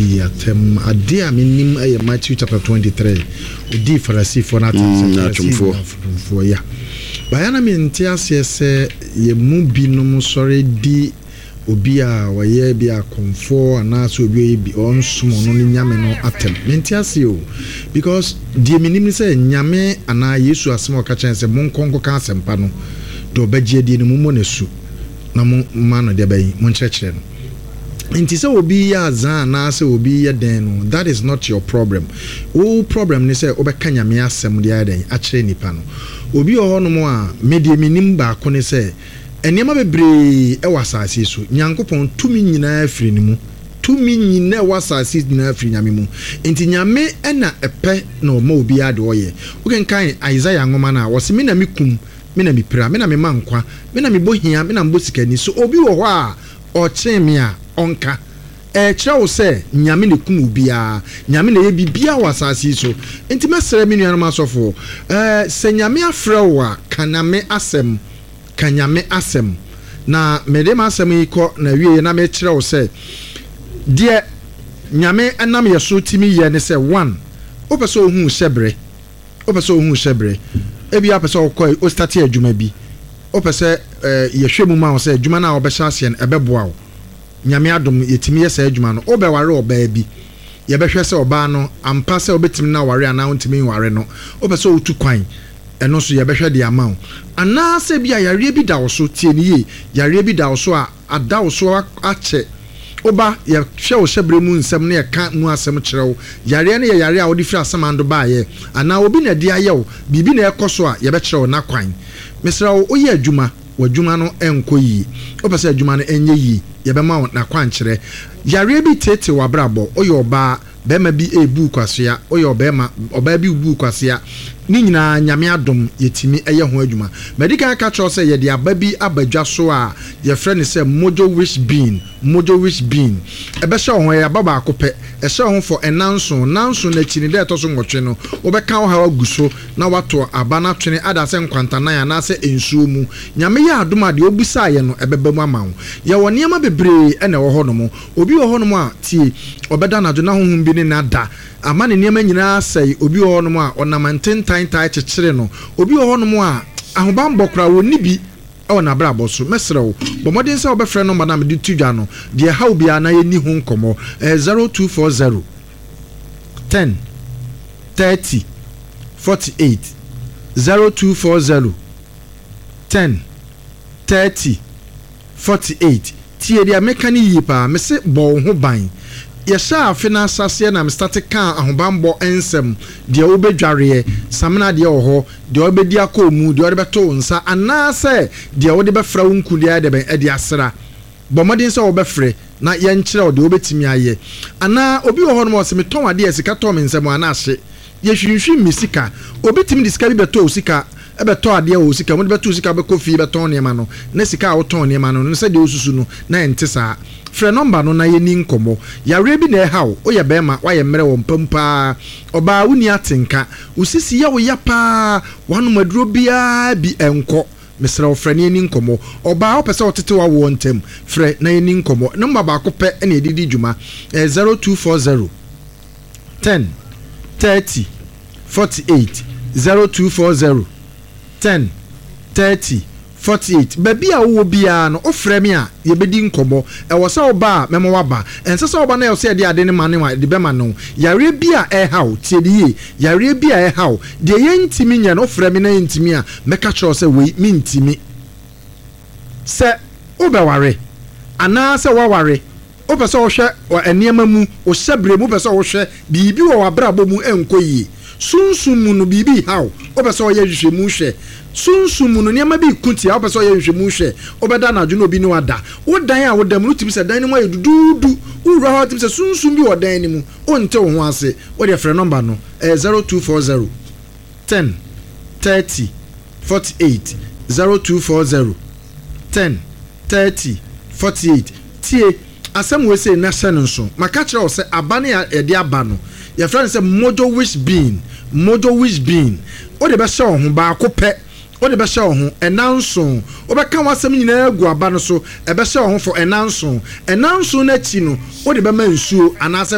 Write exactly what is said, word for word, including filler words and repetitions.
Di atɛm adeɛ a menim ɛyɛ Matthew chapter twenty-three, ɔdii Farisifoɔ no atɛm sɛ Mm, atwomfoɔ. Atwomfoɔ ya baeɛ na mente aseɛ sɛ yɛn mu binom sɔre di obi a ɔyɛ bi akɔmfoɔ anaasɛ obi a ɔyɛ bi ɔnsom ɔno ne Nyame no atɛm. Mente aseɛ o, because deɛ menim ne sɛ Nyame anaa Yesu asɛm a ɔka kyerɛ sɛ monkɔ nkɔka asɛmpa no, deɛ ɔbɛgye adie no, mommɔ n'asu na mo ma no deɛ bɛyi monkyerɛkyerɛ no. Nti sɛ obi yɛ azan anaasɛ obi yɛ den no, that is not your problem. Wo problem ne sɛ wobɛka Nyame asɛm de ayɛ dɛn akyerɛ nipa no. Obi wɔ hɔnom a, me deɛ menim baako ne sɛ nneɛma bebree ɛwɔ asase yi so, Nyankopɔn tumi nyinaa firi ne mu. Tumi nyinaa ɛwɔ asase yi nyinaa firi Nyame mu, nti Nyame ɛna ɛpɛ na ɔma obiara de ɔyɛ. Wokenkan Isaiah nwoma no a, wɔse, "Me na mekum, me na mepira, me na mema nkwa, me na mebɔ hia, me na mebɔ sikani. So obi wɔ hɔ a ɔkyɛn me a ɔnka?" Ɛkyerɛ wo sɛ Nyame na kum obiara, Nyame na ɛyɛ biribiara wɔ asase yi so. Nti mɛsrɛ me nuanom asɔfoɔ, ɛɛ sɛ Nyame afrɛ wo a, ka Nyame asɛm, ka Nyame asɛm. Na mede m'asɛm yi kɔ na wie na mekyerɛ wo sɛ deɛ Nyame ɛnam yɛ so timi yɛ ne sɛ, one, wopɛ sɛ ohu hyɛberɛ, wopɛ sɛ ohu hyɛberɛ, ebi apɛ sɛ ɔkɔ o start adwuma bi, wopɛ sɛ ɛɛ yɛhwɛ mu ma wo sɛ adwuma no a wɔbɛhyɛ aseɛ no ɛbɛboa wo. Nyame adom, yɛtumi yɛ saa adwuma no. Wobɛware ɔbaa bi, yɛbɛhwɛ sɛ ɔbaa no ampa sɛ wobɛtumi no aware anaa wontumi nware no. Wopɛ sɛ wotu kwan, ɛno nso yɛbɛhwɛ de ama wo. Anaasɛ bi a yareɛ bi da wo so, tie ne yie, yareɛ bi da wo so a ada wo so akyɛ, woba yɛhwɛ wo hyɛberɛ mu nsɛm na yɛka mu asɛm kyerɛ wo. Yareɛ no yɛ yareɛ a wode firi asamando baayɛ anaa obi na ɛde ayɛ wo biribi na ɛkɔ so a, yɛbɛkyerɛ wo n'akwan. Mesrɛ wo, woyɛ adwuma, w'adwuma no nkɔ yie, wopɛ sɛ adwuma no ɛnyɛ yie, yɛbɛma wo n'akwankyerɛ. Yareɛ bi tete w'abrabɔ, woyɛ ɔbaa, bɛrima bi ebu kwasea, woyɛ ɔbɛrima, ɔbaa bi bu kwasea, ne nyinaa Nyame adom yɛtumi ɛyɛ ho adwuma. Mɛdi kan ka kyerɛw sɛ yɛde aba bi aba dwa so a yɛfrɛ no sɛ Mojo Wish Bean. Mojo Wish Bean ɛbɛhyɛ wo ho, ɛyɛ aba baako pɛ, ɛhyɛ wo ho fɔ ɛnanson nanson n'akyi ne dɛ ɛtɔ so nwɔtwe no, wobɛka wo haw agu so na wato aba no atwene ada sɛ nkwantanan anaasɛ nsuo mu. Nyame yɛ adom a, deɛ obusaeɛ no ɛbɛba mu ama wo. Yɛwɔ nneɛma bebree ɛna ɛwɔ hɔnom. Obi wɔ hɔnom a, tie, ɔbɛda anadwo na honhom bi ne nada ama ne nneɛma nyinaa sɛe. Obi wɔ hɔnom a ɔnam ntentantan kyekyere no. Obi wɔ hɔnom a ahobanbɔ koraa wɔnni bi ɛwɔ n'abrabɔ so. Mɛsrɛ wo, bɔ mmɔden sɛ wobɛfrɛ nɔmba no a mede to dwa no. Deɛ ɛhaw biara na yɛnni ho nkɔmmɔ. Ɛyɛ zero two four zero ten thirty forty-eight, zero two four zero ten thirty forty-eight. Tie deɛ meka no yie paa. Mese bɔ wo ho ban. Yɛhyɛ afe no asaseɛ na mestate kaa ahobanbɔ nsɛm, deɛ wobɛdwareɛ, samina deɛ wɔ hɔ, deɛ wobɛdi akɔ mu, deɛ wode bɛto wo nsa anaasɛ deɛ wode bɛfra wo nku, deɛ ayɛ dɛ bɛn ɛde asra. Bɔ mmɔden sɛ wobɛfrɛ na yɛnkyerɛ wo deɛ wobɛtumi ayɛ. Anaa obi wɔ hɔ nom a ɔsɛ metɔn adeɛ, sika tɔ me nsɛm anaa ahye yɛhwinhwim me sika. Obi tumi de sika bi bɛtɔ wo sika, ɛbɛtɔ adeɛ wɔ wo sika mu, de bɛtɔ wo sika, bɛkɔ fie, bɛtɔn nneɛma no na sika a wotɔn nneɛma no no sɛdeɛ wosusu no na ɛnte saa. Frɛ nɔmba no na yɛni nkɔmmɔ. Yareɛ bi na ɛha wo, woyɛ bɛrima, woayɛ mmerɛ wɔ mpam paa, ɔbaa wonni atenka, wo sisi yɛ wo ya paa, wanom aduro biara bi ɛnkɔ, mesrɛ wo, frɛ ne yɛni nkɔmmɔ. Ɔbaa wopɛ sɛ wotete wawoɔ ntɛm, frɛ na yɛni nkɔmmɔ. Nɔmba baako pɛ ɛna yɛde di dwuma, ɛyɛ zero two four zero ten thirty forty-eight, zero two four zero ten thirty forty-eight. Baabi a wowɔ biara no, wofrɛ me a, yɛbɛdi nkɔmmɔ. Ɛwɔ sɛ woba a, mɛma woaba. Ɛnsɛ sɛ woba na ɛwɔ sɛ yɛde ade no ma ne wa de bɛma no. Yareɛ bi a ɛha wo, tie de yie, yareɛ bi a ɛha wo deɛ yɛntimi nyɛ no, wofrɛ me na yɛntimi a, mɛka kyerɛ wo sɛ wei mentimi. Sɛ wobɛware anaasɛ woaware, wopɛ sɛ wohwɛ nneɛma mu, wo hyɛberɛ mu, wopɛ sɛ wohwɛ biribi wɔ w'abrabɔ mu ɛnkɔ yie, sunsum mu no biribi haw, wopɛ sɛ ɔyɛ hwehwɛmu hwɛ sunsum mu no nneɛma bi ku tia, wopɛ sɛ ɔyɛ nhwehwɛmu hwɛ, wobɛda anadwo na obi ne wada, wo dan a woda mu no wotumi sɛ dan no mu ayɛ duduudu, wowura hɔ wotumi sɛ sunsum bi wɔ dan no mu, wonte wo ho ase, wode frɛ nɔmba no, ɛyɛ zero two four zero ten thirty forty-eight, zero two four zero ten thirty forty-eight. Tie asɛm wei sei na hyɛ no nso. Maka kyerɛ wo sɛ aba ne yɛde aba no, yɛfrɛ no sɛ Mojo Wish Bean. Mojo Wish Bean, wode bɛhyɛ wo ho baako pɛ, wode bɛhyɛ wo ho ɛna nson, wobɛka w'asɛm nyinaa agu aba no so, ɛbɛhyɛ wo ho fɔ ɛna nson. Ɛna nson no akyi no, wode bɛma nsuo anaasɛ